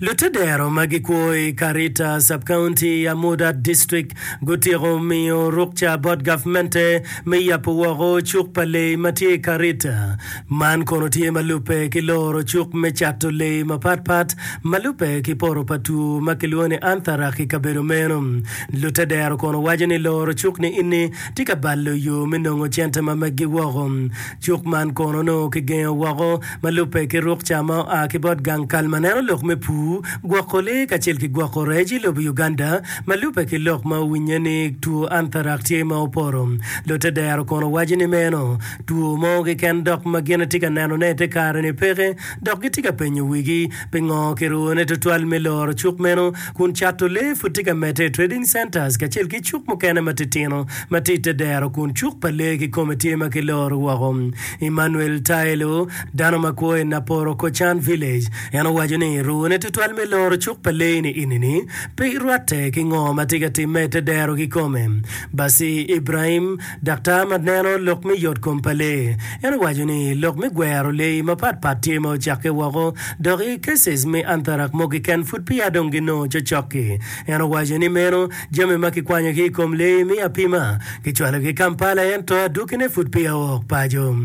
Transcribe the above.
Lutedero ma gikwo i Karita Sub-County, Amudat District gutyeko miyo rukca bot gavmente me yabo woko cuk pa lee ma tye i Karita. Man kono tye ma lubbe ki loro cuk me cato lee mapat pat ma lubbe ki poto pa two ma kilwongo ni Anthrax i kabedo meno. Lutedero kono waco ni loro cuk ni ini tye ka balo yo me nongo cente ma meggi woko. Cuk man kono onongo kigengo woko ma lubbe ki rukca ma oa ki bot gang kal ma neno lok me pur, gwoko lee kacel ki gwoko rec i lobo Uganda ma lubbe ki lok ma owinye ni two anthrax tye ma opoto. Lutedero kono waco ni meno two mo keken dok ma gin tye ka nenone i te kare-ni peke dok gitye ka penyo wigi pingo kirune tutwal me loro cuk meno kun cato lee pud tye ka medde i trading centers kacel ki cuk mukene matitino ma tye i te dero kun cuk pa lee kikome tye ma kiloro woko. Emmanuel Taelo, dano ma kwo i Naporo Kocan Village, en owaco ni rune tutwal me loro cuk pa lee-ni ini-ni pe rwatte ki ngo ma tye ka timme i te dero kikome. Basi Ibrahim, daktar ma neno lok me yot kom pa lee, en owaco ni lok me gwero lee mapat pat tye ma ocakke woko dok i cases me anthrax mo keken pud peya dong ginongo cocok-ki. En owaco ni meno Jami ma kikwanyo ki i kom lee me apima kicwalogi i Kampala ento adwogine pud peya ook paco.